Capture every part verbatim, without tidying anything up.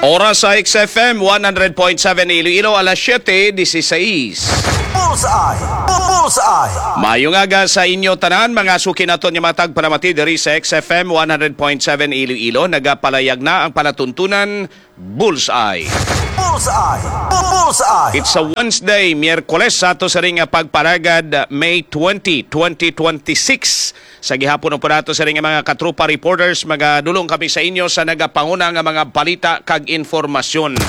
Oras sa X F M one hundred point seven Iloilo, alas siyete dieciséis. Bullseye! Bullseye! Mayong aga sa inyo tanan, mga suki naton nga mga tagpalamati diri sa X F M one hundred point seven Iloilo. Nagapalayag na ang palatuntunan Bullseye. Bullseye! Bullseye! It's a Wednesday, Miyerkules sa ato sa ring pagparagad, May twenty, twenty twenty-six. Sa gihapon po nato sa ring mga katropa reporters, magadulong kami sa inyo sa nagapanguna nga mga balita kag informasyon.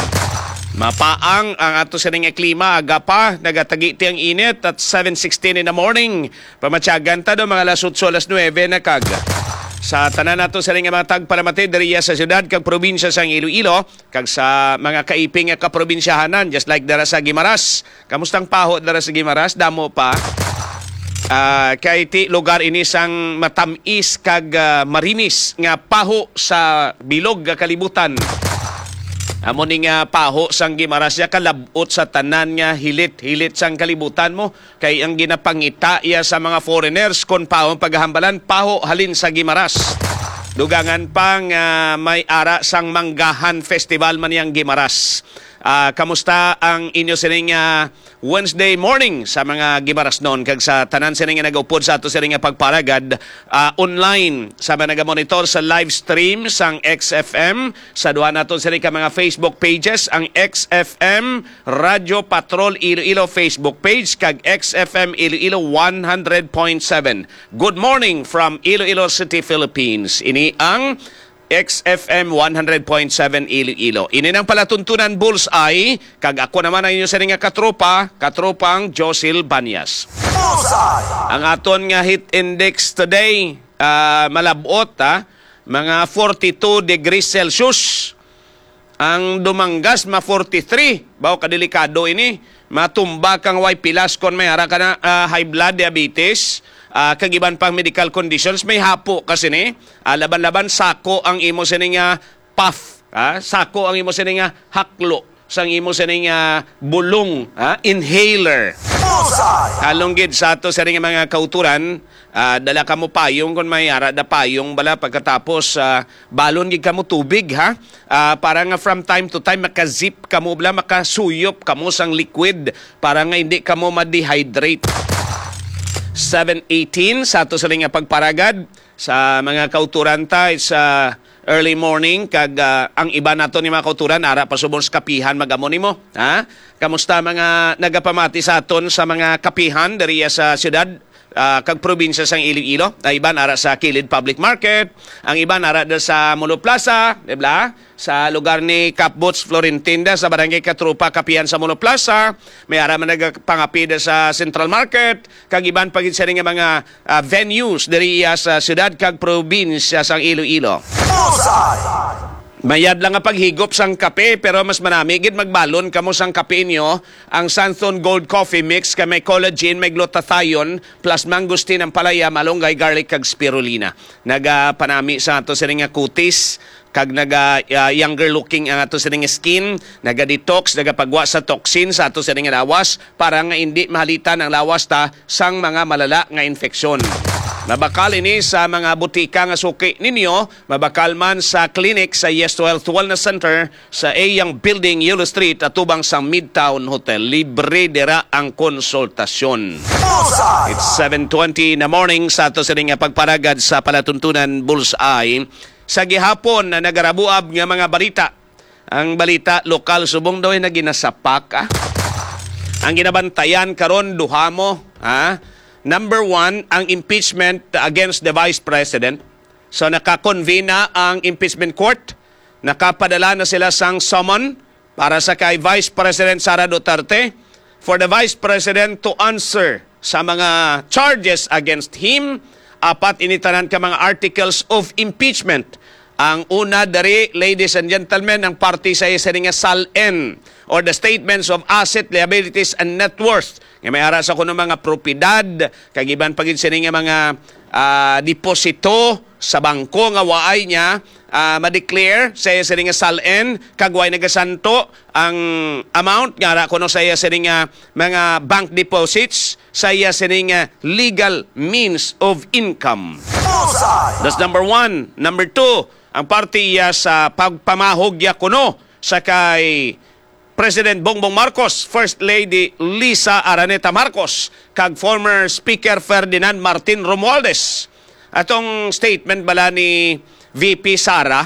Mapaang ang ato sa ring klima, aga pa, nagatagiti ang init at seven sixteen in the morning. Pamatyagan ta do mga alas otso, alas nuebe na kag. Sa tanan nato sa ring mga tagpalamati diriya sa siyudad kag probinsya sang Iloilo, kag sa mga kaiping nga kaprobinsyahanan, just like dara sa Guimaras. Kamusta ang paho dara sa Guimaras? Damo pa. Ah, kay ti lugar ini sang matamis kag, ah, marimis nga paho sa bilog nga kalibutan. Amo ni nga paho sang Guimaras ya kalab-ot sa tanan nga hilit-hilit sang kalibutan mo. Kay ang ginapangita iya sa mga foreigners kon paho ang paghambalan, paho halin sa Guimaras. Dugangan pa nga may ara sang Manggahan Festival man yang Guimaras. Ah, kamusta ang inyo sining, ah, Wednesday morning sa mga Guimarasnon kag sa tanan sining nga nagaupod sa ato sining nga pagparagad, ah, online sa mga nagamonitor sa live stream sang X F M, sa duha naton sining ka mga Facebook pages, ang X F M Radyo Patrol Iloilo Facebook page kag X F M Iloilo one hundred point seven. Good morning from Iloilo City, Philippines. Ini ang X F M one hundred point seven Iloilo. Ini nang palatuntunan Bullseye, kag ako naman ang inyo sining nga katropa, katropang Josil Banyas. Bullseye! Ang aton nga heat index today, ah, malabot, ha? Mga forty-two degrees Celsius. Ang Dumangas ma forty-three. Baw kadelikado ini. Matumba kang way pilas kon may ara ka na, ah, high blood, diabetes, ah, kag iban pang medical conditions. May hapo ka sini. Ah, laban-laban sako ang imo sini nga puff, ah, sako ang imo sini nga haklo sang imo sini nga bulong, ah, inhaler. Bullseye! Halong gid sa ato sini nga mga kauturan, ah, dala kamo payong kon may ara da payong bala pagkatapos, ah, balon gid kamo tubig, ha? Ah, para nga from time to time makazip kamo bala, makasuyop kamo sang liquid para nga hindi kamo ma-dehydrate. Seven eighteen sa ato sa nga pagparagad sa mga kauturan ta, it's, ah, early morning kag, ah, ang iba nato ni mga kauturan ara pa subong sa kapihan mag-amo nimo, ha? Kamusta mga nagapamati sa aton sa mga kapihan diri sa siyudad, ah, kag probinsya sang Iloilo? Ang iban ara sa Kilid Public Market, ang iban ara da sa Molo Plaza, di ba? Sa lugar ni Cap Boots Florentinda sa Barangay Katrupa, kapihan sa Molo Plaza, may ara man nagapangapi da sa Central Market, kag iban pa gid sini nga mga, ah, venues diri iya sa siyudad kag probinsya sang Iloilo. Bullseye! Mayad lang nga paghigop sang kape, pero mas manami gid magbalon kamo sang kape inyo, ang Santhon Gold Coffee Mix kay may collagen, may glutathione, plus mangosteen, ampalaya, malunggay, garlic, kag spirulina. Nagapanami sa ato sini nga kutis, kag naga, ah, younger looking ang ato sini nga skin, naga-detox, nagapagwa sa toxin sa ato sini nga lawas, para nga indi mahalitan ang lawas ta sang mga malala nga infeksyon. Mabakal ini sa mga butika nga suki ninyo, mabakal man sa clinic sa Yes to Health Wellness Center sa Eyang Building, Yolo Street, atubang sa Midtown Hotel. Libre dira ang konsultasyon. Bullseye! It's seven twenty in the morning sa ato sini nga pagparagad sa palatuntunan Bullseye. Sa gihapon na nagarabuab nga mga balita, ang balita lokal subong daw ay naginasapak, ah. Ang ginabantayan karon duha mo, ha? Number one, ang impeachment against the Vice President. So, nakakonvene na ang impeachment court. Nakapadala na sila sang summon para sa kay Vice President Sara Duterte for the Vice President to answer sa mga charges against him. Apat ini tanan ka mga articles of impeachment. Ang una diri, ladies and gentlemen, ang parte sa isa nga SALN or the statements of asset, liabilities, and net worth. Nga may ara sa kuno mga propiedad, kag iban pa gid sini nga mga, ah, deposito sa bangko nga waay niya, ah, ma-declare sa iya sini nga SALN, kag way nagasanto ang amount nga ara kuno sa iya sini nga mga bank deposits sa iya sini nga legal means of income. Bullseye! That's number one. Number two, ang parte iya sa pagpamahog ya kuno sa kay President Bongbong Marcos, First Lady Liza Araneta Marcos, kag former Speaker Ferdinand Martin Romualdez. Atong statement bala ni V P Sara,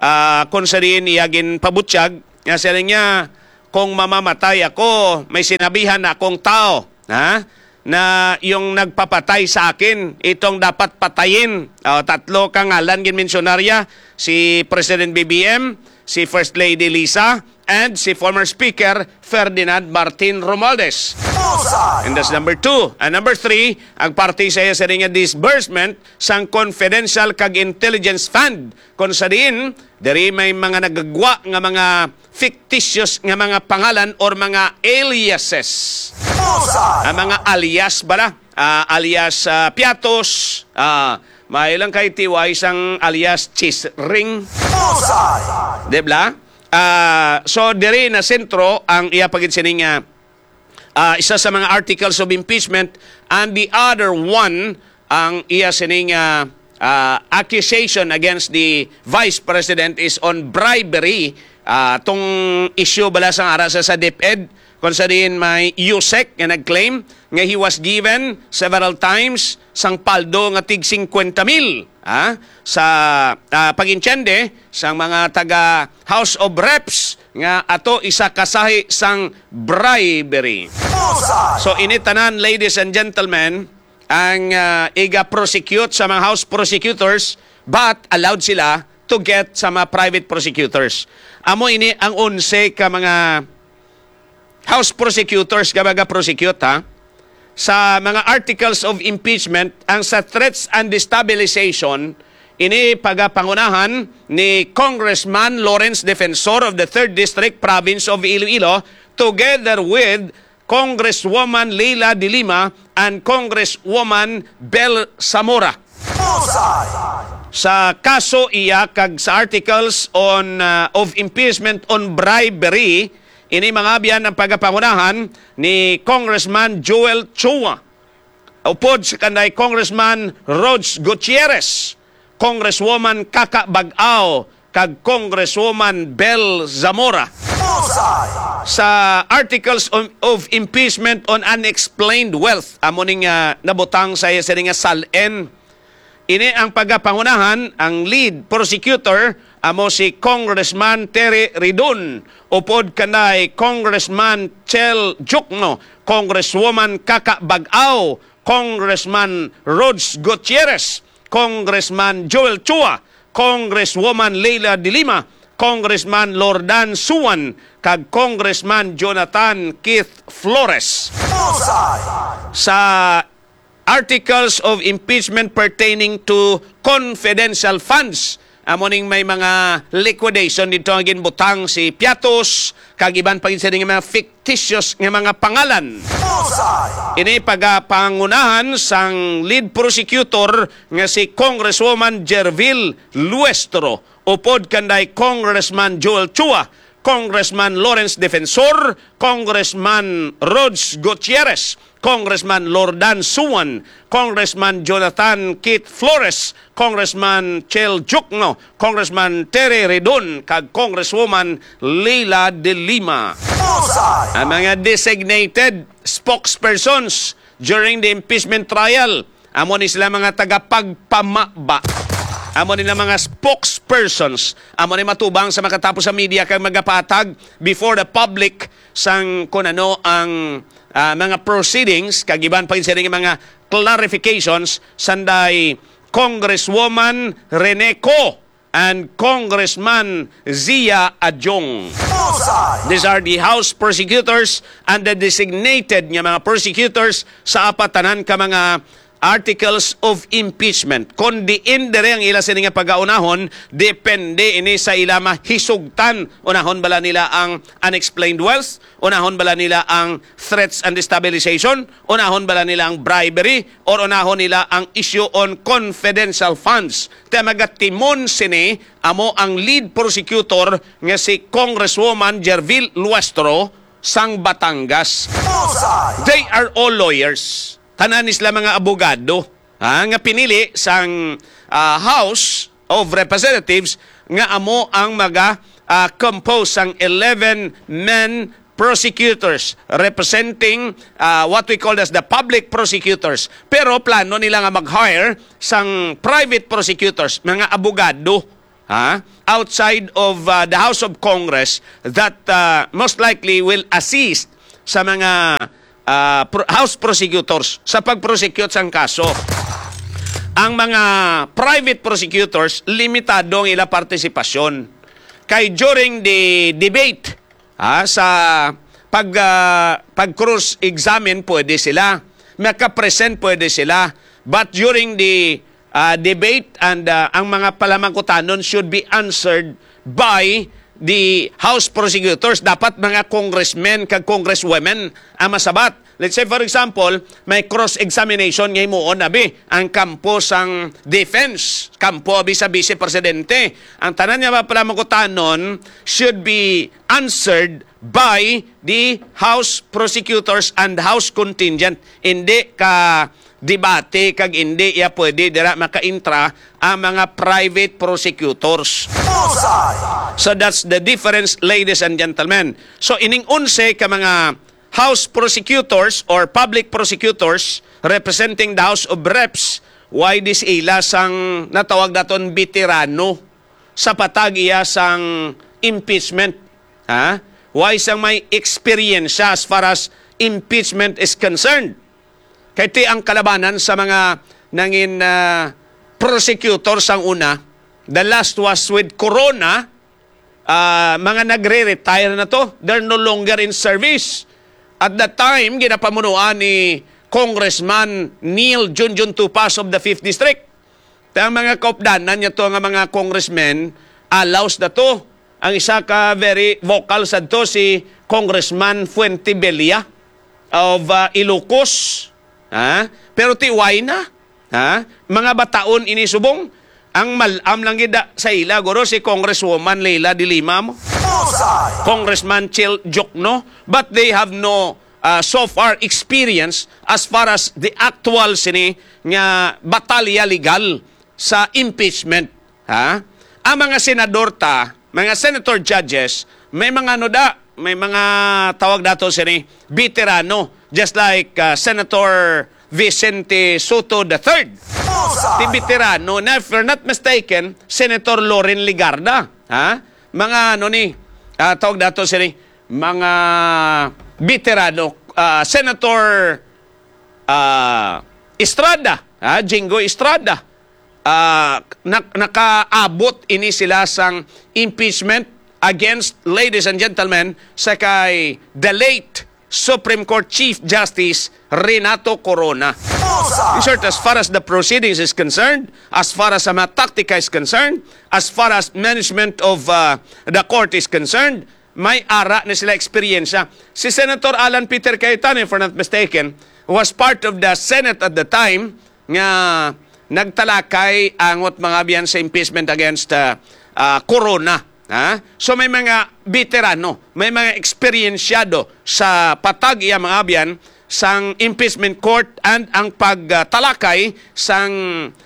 ah, kung sa diin iya ginpabutyag, nga siya niya, "Kung mamamatay ako, may sinabihan na akong tao, ha, na yung nagpapatay sa akin, itong dapat patayin." Oh, tatlo ka ngalan ginmensyonarya, si President B B M, si First Lady Liza, and si former Speaker Ferdinand Martin Romualdez. Bullseye! And that's number two. And number three, ang parte sa iya sa niya disbursement sang confidential kag intelligence fund, kung sa diin diri may mga nagagwa nga mga fictitious nga mga pangalan or mga aliases. Bullseye! Ang mga alias bala, ah, alias, ah, Piatos, ah, may lang kay T Y sang alias Cheese Ring. Bullseye! Di ba? Ah, so, diri na sentro ang iya pagid sining, ah, ah, isa sa mga articles of impeachment, and the other one, ang iya sining, ah, ah, accusation against the vice president is on bribery. Ah, tong issue bala sang ara sa, sa DepEd, kung sa diin may USEC nga nag-claim nga he was given several times sang paldo nga tig singkwenta mil, ah, sa, ah, pag-intiende sang mga taga House of Reps nga ato isa ka sahi sang bribery. Bullseye! So, ini tanan, ladies and gentlemen, ang, ah, iga-prosecute sa mga House prosecutors, but allowed sila to get sa mga private prosecutors. Amo ini ang onse ka mga House prosecutors nga maga-prosecute, ha? Sa mga articles of impeachment, ang sa threats and destabilization, ini pagapangunahan ni Congressman Lawrence Defensor of the Third District, Province of Iloilo, together with Congresswoman Leila de Lima and Congresswoman Bel Zamora. Bullseye! Sa kaso iya kag sa articles on, uh, of impeachment on bribery, ini mangabyan ang pagapangunahan ni Congressman Joel Chua, upod sa kanday Congressman Rog Gutierrez, Congresswoman Kaka Bag-aw, kag Congresswoman Bel Zamora. Bullseye! Sa articles of, of impeachment on unexplained wealth, amo ning, ah, nabutang sa iya sini nga SALN. Ini ang pagapangunahan, ang lead prosecutor amo si Congressman Terry Ridon, upod kanday Congressman Chel Diokno, Congresswoman Kaka Bag-aw, Congressman Rog Gutierrez, Congressman Joel Chua, Congresswoman Leila de Lima, Congressman Lordan Suan, kag Congressman Jonathan Keith Flores. Bullseye! Sa articles of impeachment pertaining to confidential funds, amo ning may mga liquidation dito nga ginbutang si Piatos, kag iban pa gid sa mga fictitious nga mga pangalan. Bullseye! Ini pagapangunahan sang lead prosecutor nga si Congresswoman Gerville Luestro, upod kanday Congressman Joel Chua, Congressman Lawrence Defensor, Congressman Rog Gutierrez, Congressman Lordan Suan, Congressman Jonathan Keith Flores, Congressman Chel Diokno, Congressman Terry Ridon, kag Congresswoman Leila de Lima. Bullseye! Ang mga designated spokespersons during the impeachment trial, amo ni sila mga tagapagpamaba. Amo nila mga spokespersons. Amo ni matubang sa makatapos sa media kag magapatag before the public sang kung ano ang, ah, mga proceedings, kag iban pa gid sila nga mga clarifications, sanday Congresswoman Rene Co and Congressman Zia Adjong. Bullseye! These are the House prosecutors and the designated nga mga prosecutors sa apat tanan ka mga articles of impeachment. Kon diin diri ang ila sini nga pagaunahon, depende ini sa ila mahisugtan. Unahon bala nila ang unexplained wealth? Unahon bala nila ang threats and destabilization? Unahon bala nila ang bribery? Or unahon nila ang issue on confidential funds? Kaya magatimon sini amo ang lead prosecutor nga si Congresswoman Gerville Luestro sang Batangas. Bullseye! They are all lawyers. Tanan ni sila mga abogado, ha, nga pinili sang, ah, House of Representatives nga amo ang maga, ah, compose sang eleven men prosecutors representing, ah, what we call as the public prosecutors. Pero plano nila nga mag-hire sang private prosecutors, mga abogado, ha, outside of, ah, the House of Congress that, ah, most likely will assist sa mga, ah, pro-, House prosecutors sa pag-prosecute sang kaso. Ang mga private prosecutors, limitado ang ila partisipasyon. Kay during the debate, ha, sa pag, ah, pag-cross-examine, pwede sila. Maka-present, pwede sila. But during the, ah, debate and, ah, ang mga palamangkutanon should be answered by the House prosecutors. Dapat mga congressmen kag congresswomen ang masabat. Let's say, for example, may cross-examination nga himuon, abi, ang kampo sang defense, kampo, abi, sa vice presidente. Ang tanan nga mga palamangkutanon should be answered by the House prosecutors and House contingent. Hindi ka debate kag hindi ya pwede dira makaintra ang mga private prosecutors. Bullseye! So that's the difference, ladies and gentlemen. So ining onse ka mga House prosecutors or public prosecutors representing the House of Reps, why di sila sang natawag naton veterano sa patag iya sang impeachment? Ha? Why sang may experience as far as impeachment is concerned? Kay ti ang kalabanan sa mga nangin, ah, prosecutor sang una, the last was with Corona, ah, mga nagre-retire na to. They're no longer in service. At that time, ginapamunuan ni Congressman Neil Junjun Tupas of the fifth District. Ang mga kaupdanan niya to nga mga congressmen, alaws na to. Ang isa ka very vocal sad to si Congressman Fuentebella of, ah, Ilocos. Ha? Pero ti why na? Ha? Mga bataon ini subong. Ang malam lang gid sa ila, guro, si Congresswoman Leila de Lima mo. Bullseye! Congressman Chel Diokno. But they have no, ah, so far experience as far as the actual sini nga batalya legal sa impeachment. Ha? Ang mga senador ta, mga senator judges, may mga ano da, may mga tawag nato sini, veterano, just like, ah, Senator Vicente Sotto the third. Bullseye! Ti veterano na, if you're not mistaken, Senator Loren Legarda. Ha? Mga ano ni, ah, tawag nato sini, mga veterano, ah, Senator, ah, Estrada, ha? Jinggoy Estrada. Ah, nak-, nakaabot ini sila sang impeachment against, ladies and gentlemen, sa kay the late Supreme Court Chief Justice Renato Corona. Bullseye! In short, as far as the proceedings is concerned, as far as sa mga taktika is concerned, as far as management of, uh, the court is concerned, may ara na sila eksperyensya. Si Senator Alan Peter Cayetano, if I'm not mistaken, was part of the Senate at the time nga nagtalakay angot mga biyan sa impeachment against, uh, uh, Corona. Ha? So may mga veterano, may mga eksperyensyado sa patag iya mga abyan sang impeachment court and ang pagtalakay sang,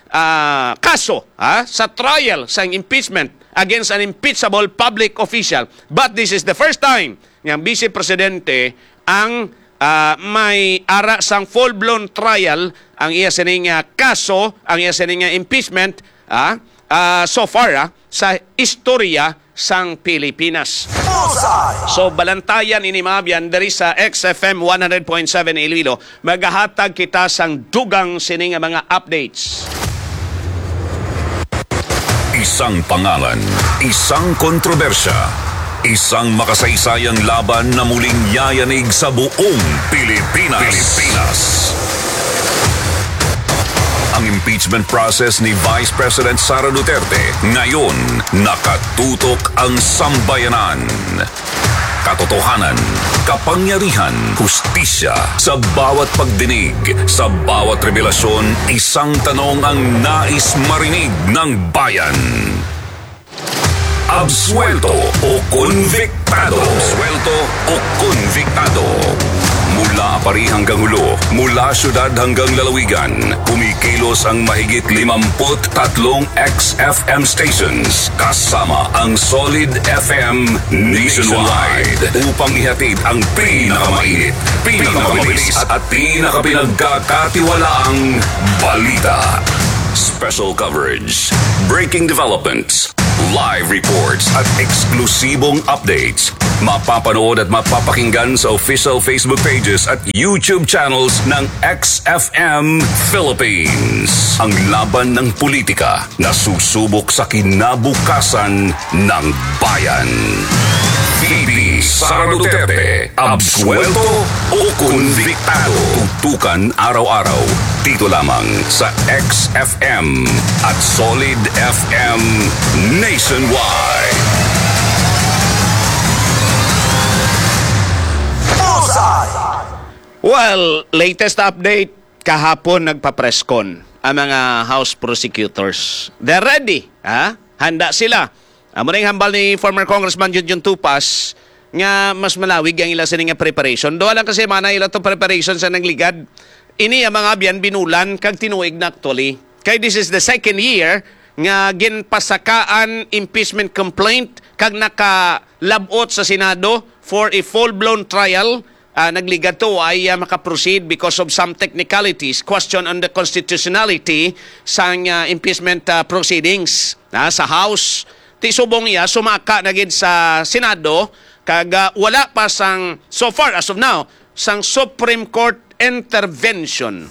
ah, kaso, ha, sa trial sang impeachment against an impeachable public official. But this is the first time nga ang Vice Presidente ang, ah, may ara sang full-blown trial ang iya sining, ah, kaso, ang iya sining, ah, impeachment, ah, ah, so far, ah, sa istorya sang Pilipinas. Bullseye! So, balantayan ini, mga abyan, diri sa X F M one hundred point seven Iloilo. Magahatag kita sang dugang sini nga mga updates. Isang pangalan, isang kontrobersya, isang makasaysayang laban na muling yayanig sa buong Pilipinas. Pilipinas. Ang impeachment process ni Vice President Sara Duterte ngayon nakatutok ang sambayanan. Katotohanan, kapangyarihan, hustisya. Sa bawat pagdinig, sa bawat revelasyon, isang tanong ang nais marinig ng bayan. Absuelto o konbiktado. Absuelto o konbiktado. Mula pari hanggang hulo, mula syudad hanggang lalawigan, kumikilos ang mahigit limampu't tatlong X F M stations kasama ang Solid F M nationwide upang ihatid ang pinakamainit, pinakamabilis at pinakapinagkakatiwalaang balita. Special coverage, breaking developments, live reports at eksklusibong updates. Mapapanood at mapapakinggan sa official Facebook pages at YouTube channels ng X F M Philippines. Ang laban ng politika na susubok sa kinabukasan ng bayan. V P Sara Duterte, absuelto o konbiktado? Tutukan araw-araw dito lamang sa X F M at Solid F M nationwide. Well, latest update, kahapon nagpa-press con ang mga House prosecutors. They're ready, ha? Handa sila. Amo na yung hambal ni former Congressman Junjun Tupas nga mas malawig ang ila sini nga preparation. Duha lang kasi mana ila to preparation sa nagligad. Ini ang mga abyan binulan kag tinuig na actually. Kay this is the second year nga ginpasakaan impeachment complaint kag nakalabot sa Senado for a full-blown trial. Ah, nagligad to ay ah, makaproceed because of some technicalities, question on the constitutionality sang ah, impeachment ah, proceedings ah, sa House. Ti subong iya sumaka na gid sa Senado kag ah, wala pa sang, so far as of now, sang Supreme Court intervention.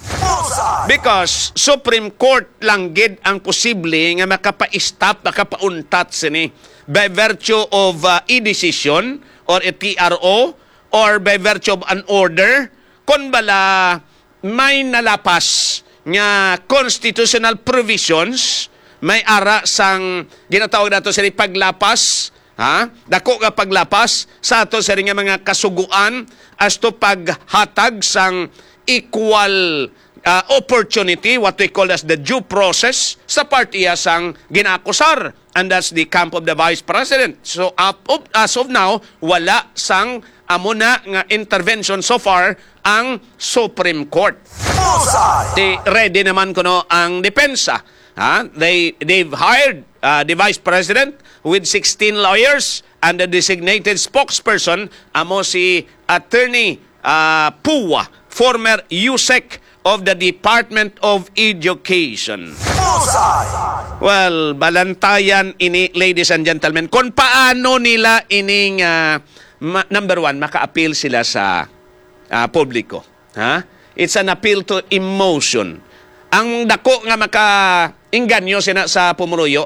Because Supreme Court lang gid ang posible nga makapa-stop, makapauntat sini by virtue of ah, e-decision or a T R O or by virtue of an order, kon bala may nalapas nga constitutional provisions, may ara sang ginatawag nato sini paglapas, ha? Dako nga paglapas sa ato sini nga mga kasuguan as to paghatag sang equal ah, opportunity, what we call as the due process, sa part iya sang ginaakusar. And that's the camp of the Vice President. So, up, up, as of now, wala sang amo na nga intervention so far ang Supreme Court. Ti ready naman kuno ang depensa. Ha? They, they've hired uh, the Vice President with sixteen lawyers and the designated spokesperson amo si Attorney uh, Pua, former USEC of the Department of Education. Well, balantayan ini, ladies and gentlemen, kung paano nila ining, ah, ma- number one, maka-appeal sila sa ah, publiko. Ha? It's an appeal to emotion. Ang dako nga maka-inganyo sina sa pumuruyo,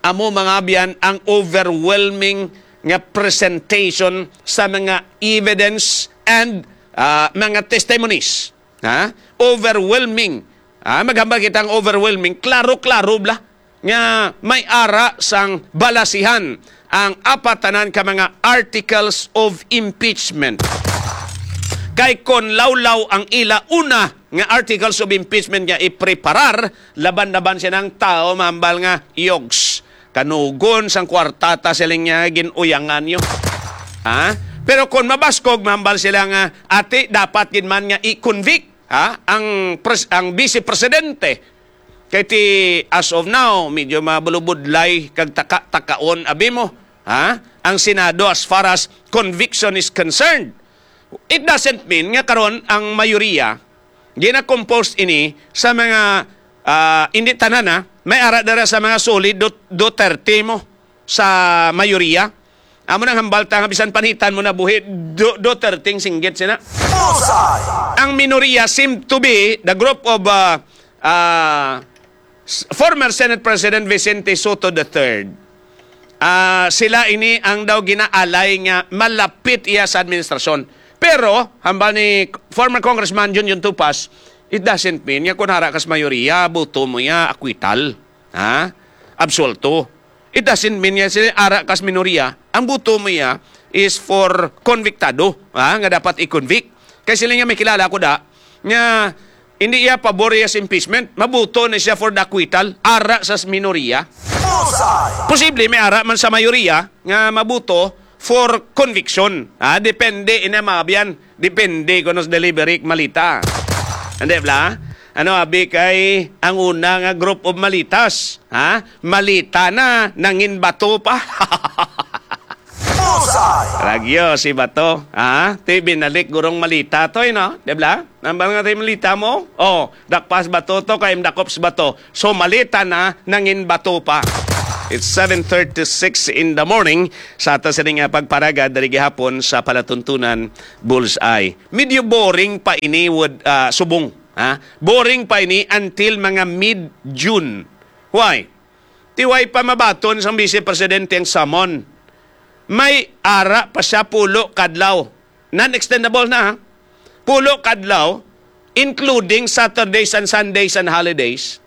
amo mga abyan ang overwhelming nga presentation sa mga evidence and ah, mga testimonies. Ha? Overwhelming. Ha? Maghambal kita ang overwhelming. Klaro-klaro bla nga may ara sang balasihan ang apatanan ka mga articles of impeachment. Kay kon lawlaw ang ila una nga articles of impeachment nga ipreparar, laban-laban siya ng tao, mahambal nga, yogs. Kanugon sang kwartata siling niya ginuyangan niyo. Ha? Pero kung mabaskog, mahambal sila nga, ati, dapat gid man nga i-convict, ha? Ang, pres- ang vice presidente. Kay ti, as of now, medyo mabulubudlay kag taka-takaon, abi mo. Ha? Ang Senado as far as conviction is concerned. It doesn't mean nga karon ang mayoriya gina-compose ini sa mga ah, hindi tanan ha, may ara dira sa mga solid do, do thirty mo sa mayoriya. Amo nang hambal ta nga bisan panitan mo na buhi do, do thirty singgit sina. Ang minoriya seem to be the group of ah, ah, s- former Senate President Vicente Sotto the third. Ah, sila ini ang daw ginaalay nga malapit iya sa administrasyon. Pero, hambal ni former Congressman Junjun Tupas, it doesn't mean nga kung hara kas mayoriya, buto mo iya, akwital. Ha? Absolto. It doesn't mean nga sila ara kas minoriya, ang buto mo iya is for convictado, ha? Nga dapat i-convict. Kay sila nga may kilala ko da, nga hindi iya pabor iya sa impeachment, mabuto na siya for the acquittal, ara sa minoriya. Posible may ara man sa mayoriya nga maboto for conviction. Ha? Depende ina, mga abyan. Depende kuno sa delivery malita. Hindi bla? Ano abi kay ang una nga group of malitas? Ha? Malita na, nangin bato pa. Bullseye! Ragyo si bato. Ha? Ti binalik gurong malita to, eh, no? Di bla? Nambal nga tayo malita mo? Oh, dakpas bato to, kay dakops bato. So, malita na, nangin bato pa. It's seven thirty-six in the morning. Sa ato sini nga pagparaga diri gihapon sa palatuntunan Bullseye. Medyo boring pa ini, would, ah, subong. Ha? Boring pa ini until mga mid-June. Why? Ti way pa mabaton sang Vice Presidente ang summon. May ara pa siya pulo kadlaw. Non-extendable na, ha? Pulo kadlaw, including Saturdays and Sundays and holidays,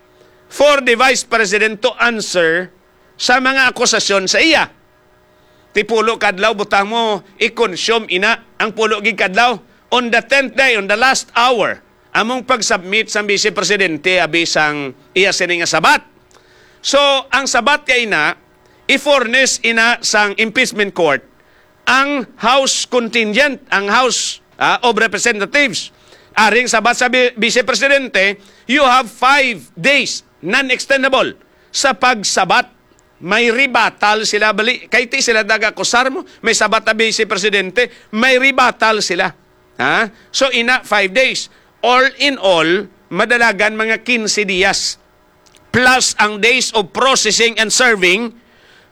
for the Vice President to answer sa mga akusasyon sa iya. Ti pulo kadlaw, butang mo, i-consume ina ang pulo gid kadlaw. On the tenth day, on the last hour, among pag-submit sang Vice Presidente abi sang iya sini nga sabat. So, ang sabat kay ina, i-furnish ina sang impeachment court ang House contingent, ang House, ah, of Representatives. Aring sabat sa bi-, Vice Presidente, you have five days, non-extendable, sa pagsabat. May rebuttal sila, bali, kay ti sila nagakusar mo, may sabat na Vice Presidente, may rebuttal sila. Ha? So, ina, five days. All in all, madalagan mga quince dias. Plus ang days of processing and serving,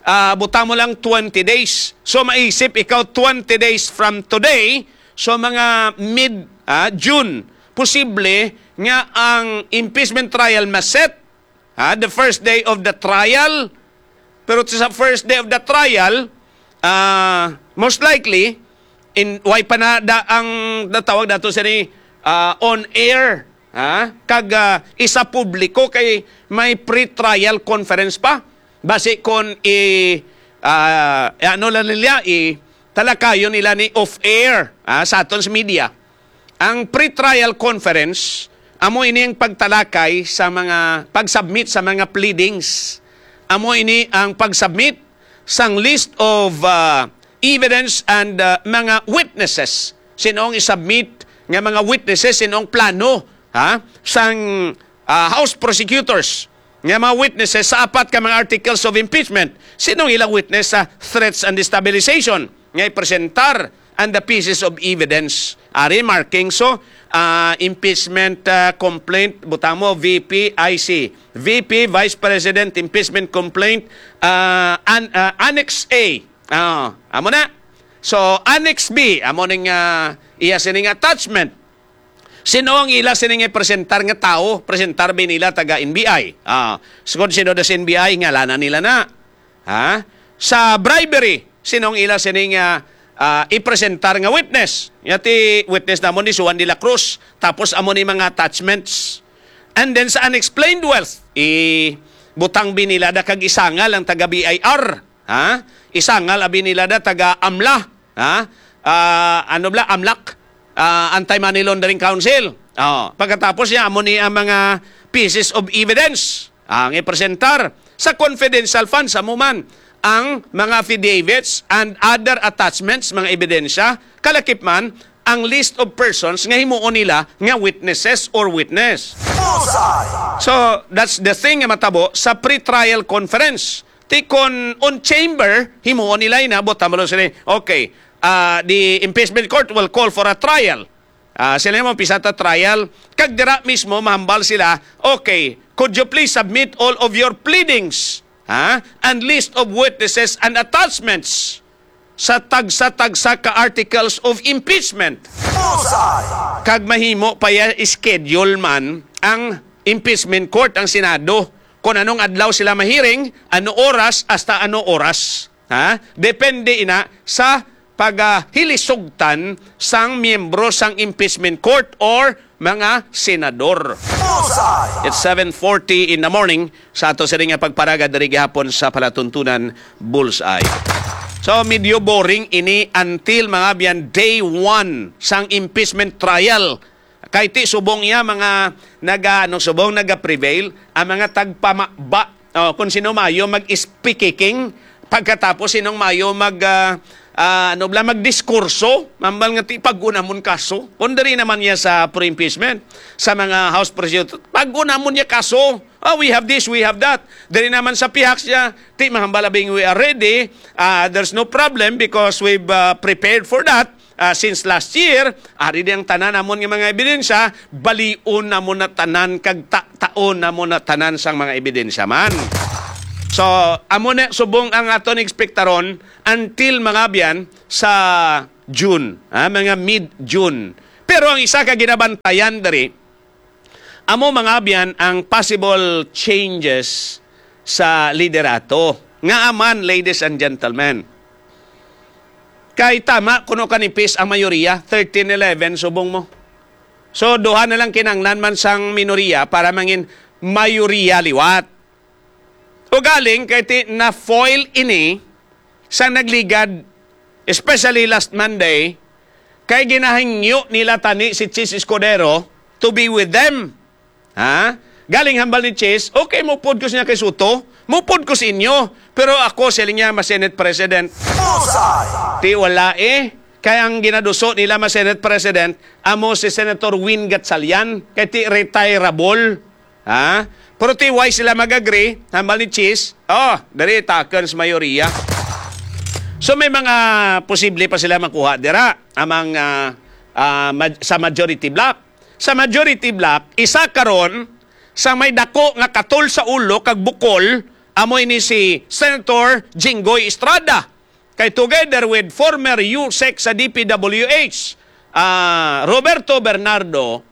ah, butang mo lang twenty days. So, maisip ikaw, twenty days from today, so mga mid, ah, June, posible nga ang impeachment trial maset, ha, the first day of the trial. Pero sa first day of the trial, ah, most likely, in, way pa na da, ang natawag nato sini, ah, on air, ha? Kag, ah, isa publiko kay may pre-trial conference pa. Basi kon i, ah, ano lang nila, i talakayon nila ni off air, ha, sa aton sa media. Ang pre-trial conference, amo ini ang pagtalakay sa mga, pag-submit sa mga pleadings. Amo ini ang pag-submit sang list of, ah, evidence and, ah, mga witnesses. Sinong i-submit nga mga witnesses, sinong plano, ha, sang, ah, House prosecutors nga mga witnesses sa apat ka mga articles of impeachment. Sinong ilang witness sa threats and destabilization nga ipresentar and the pieces of evidence? Ari, marking. So, ah, impeachment, ah, complaint, butang mo, V P I C. V P, Vice President, impeachment complaint, ah, an-, ah, Annex A. Ah, amo na. So, Annex B, amo ning, ah, iya sining attachment. Sino ang ila sining ipresentar nga tawo? Presentar ba nila taga N B I? Ah, sugod sino da sa N B I, ngalanan nila na. Ha? Sa bribery, sino ang ila sining, ah, ah, ipresentar nga witness? Nga ti witness namon ni Juan de la Cruz. Tapos amo ni mga attachments. And then sa unexplained wealth, i butang ba nila da kag isangal ang taga B I R. Ha? Isangal abi nila da taga amla, ha? Ah, ano bla, amlak, ah, Anti-Money Laundering Council. Oh, pagkatapos niya, amo ni ang mga pieces of evidence ang ipresentar sa confidential funds, amo man ang mga affidavits and other attachments, mga ebidensya, kalakip man ang list of persons nga himuon nila nga witnesses or witness. Bullseye! So, that's the thing nga matabo sa pre-trial conference. Ti kon on chamber, himuon nila ina, buta mo lang sila. Okay, ah, the impeachment court will call for a trial. Ah, sila mo, pisa ta trial. Kag dira mismo, mahambal sila, okay, could you please submit all of your pleadings, ha? And list of witnesses and attachments sa tagsa-tagsa ka articles of impeachment. Bullseye! Kag mahimo pa ya schedule man ang impeachment court, ang Senado, kung anong adlaw sila mahiring, ano oras, hasta ano oras. Ha? Depende ina sa pagahilisugtan sang miyembro sang impeachment court or mga senador. Bullseye! It's seven forty in the morning sa ato sini nga pagparaga diri gihapon sa palatuntunan Bullseye. So, medyo boring ini until, mga abyan, day one sang impeachment trial. Kay ti subong iya mga naga, ano, subong naga-prevail ang mga tagpamaba Oh, kung sino mayo mag-speaking, pagkatapos sinong mayo mag, ah, ah, ano bala, magdiskurso, mambal nga ti pag-unamon kaso. Kung diri naman niya sa pre-impeachment, sa mga House President, pag-unamon niya kaso. Oh, we have this, we have that. Diri naman sa pihak siya, ti mahambal abing we are ready. Ah, there's no problem because we've ah, prepared for that. Ah, since last year, ari di ang tanan namon nga mga ebidensya, balion namon na tanan kag ta- taon namon na tanan sang mga ebidensya man. So, amo na subong ang aton ekspektaron until mga abyan sa June, ha, mga mid-June. Pero ang isa ka ginabantayan diri, amo mga abyan ang possible changes sa liderato. Nga man, ladies and gentlemen, kay tama kuno kanipis ang mayoriya, thirteen eleven subong mo. So, duha na lang kinanglan man sang minoriya para mangin mayoriya liwat. Ugaling kay ti na-foil ini sa nagligad, especially last Monday, kay ginahingyo nila tani si Chiz Escudero to be with them. Ha? Galing hambal ni Chiz, okay, mupod ko siya kay Soto, mupod ko sa inyo, pero ako, siling niya, ma-Senate President. Bullseye! Ti wala eh. Kay ang ginaduso nila ma-Senate President, amo si Senator Win Gatchalian, kay ti retirable. Ha? Pero ti why sila mag-agree, hambal ni Chiz, oh, diri takon sa mayoriya. So may mga posible pa sila makuha dira amang ah, ah, maj- sa majority bloc. Sa majority bloc, isa karon sa may dako nga katol sa ulo kag bukol amo ini si Senator Jinggoy Estrada. Kay together with former USEC sa D P W H, ah, Roberto Bernardo,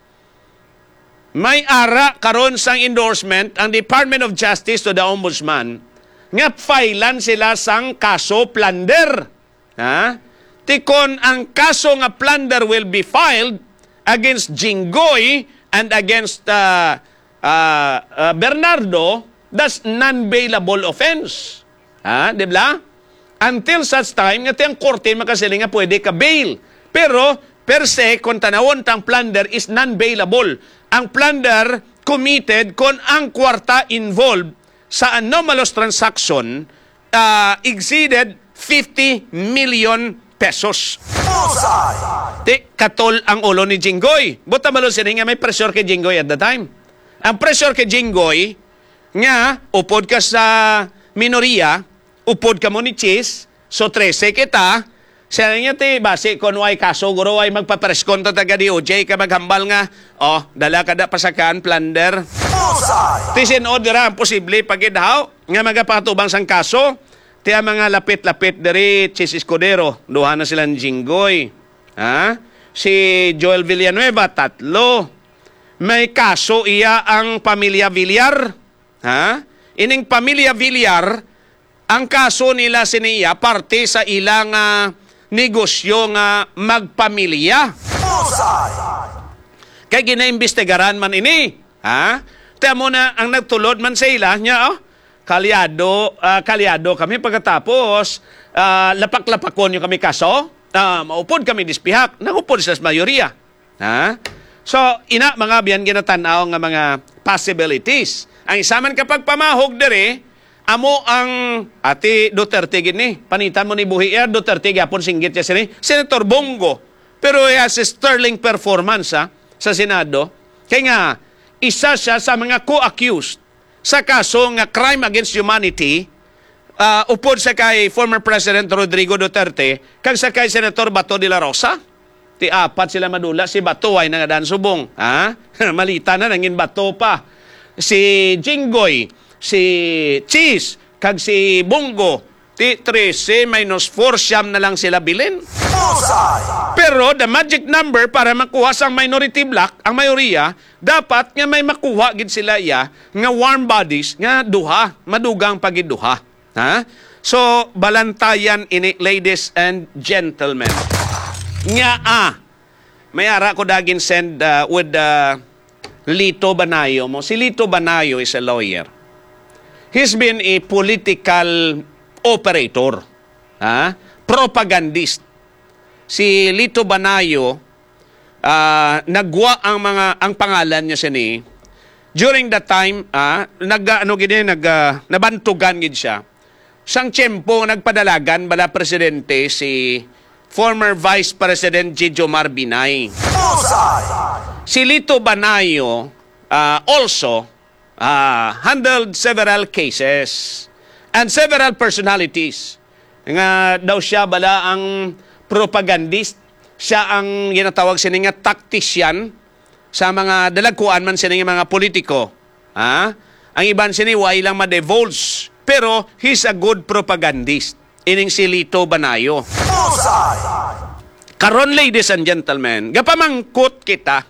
may ara karon sang endorsement ang Department of Justice to the Ombudsman nga filean sila sang kaso plunder. Ha? Ti kon ang kaso nga plunder will be filed against Jinggoy and against uh, uh, uh, Bernardo, that's non-bailable offense. Ha? Di ba? Until such time nga ti ang korte makasiling nga pwede ka bail. Pero per se, kung tanawon tang plunder is non-bailable. Ang plunder committed kon ang kwarta involved sa anomalous transaction ah, exceeded fifty million pesos. Bullseye! Ti, katol ang ulo ni Jinggoy. Buta malo sini nga may pressure kay Jinggoy at the time. Ang pressure kay Jinggoy nga upod ka sa minoriya, upod ka mo ni Chiz, so trese kita, siya niya ti, basi kon way kaso, guro, way magpapreskon ta taga D O J ka maghambal nga, oh, dala ka da pasakaan plunder. Bullseye! Ti sin-o dira ang posible pagidhaw nga magapatubang sang kaso. Ti ang mga lapit-lapit diri, Chiz Escudero, duha na sila ni Jinggoy. Ha? Si Joel Villanueva, tatlo. May kaso iya ang pamilya Villar. Ha? Ining pamilya Villar, ang kaso nila sini iya parte sa ilang ah, negosyo nga magpamilya. Bullseye! Kay ginaimbestigaran man ini. Ha? Ti amo na ang nagtulod man sa ila niya, oh. Kalyado, ah, kalyado kami pagkatapos ah, lapak-lapakon niyo kami kaso. Ah, maupod kami dispihak. Nangupod sa mayoriya. Ha? So, ina, mga biyan, ginatanaw nga mga possibilities. Ang isa man ka pagpamahog diri, amo ang ati Duterte gid ni. Panitan mo ni buhi iya, Duterte gyapon singgit siya sini. Senator Bong Go. Pero he has a sterling performance ha, sa Senado. Kay nga, isa siya sa mga co-accused sa kaso nga crime against humanity, ah, upod sa kay former President Rodrigo Duterte kag sa kay Senator Bato de la Rosa. Ti apat sila madula, si Bato ay nangadaan subong. Ha? Malita na, nangin Bato pa. Si Jinggoy, si Chiz, kag si Bong Go, ti trese minus four, siyam na lang sila bilin. Bullseye! Pero the magic number para makuha sang minority bloc, ang mayoriya, dapat nga may makuha gid sila iya nga warm bodies nga duha, madugang pa gid duha. Ha? So, balantayan ini, ladies and gentlemen. Nga, ah, may ara ko dagin send ah, with ah, Lito Banayo mo. Si Lito Banayo is a lawyer. He's been a political operator, ha? Propagandist. Si Lito Banayo, ah, nagwa ang mga, ang pangalan niya sini, During that time, ah, nag, ano gid eh, nag, ah, nabantugan gid siya. Sang tiyempo nagpadalagan bala presidente si former Vice President Jejomar Binay. Si Lito Banayo, ah, also, ah, handled several cases and several personalities nga daw siya bala ang propagandist, siya ang ginatawag sini nga tactician sa mga dalagkuan man sini nga mga politiko. Ha? Ang iban sini wa lang ma-divulge, pero he's a good propagandist. Ining si Lito Banayo. Karon, ladies and gentlemen, gapamangkot kita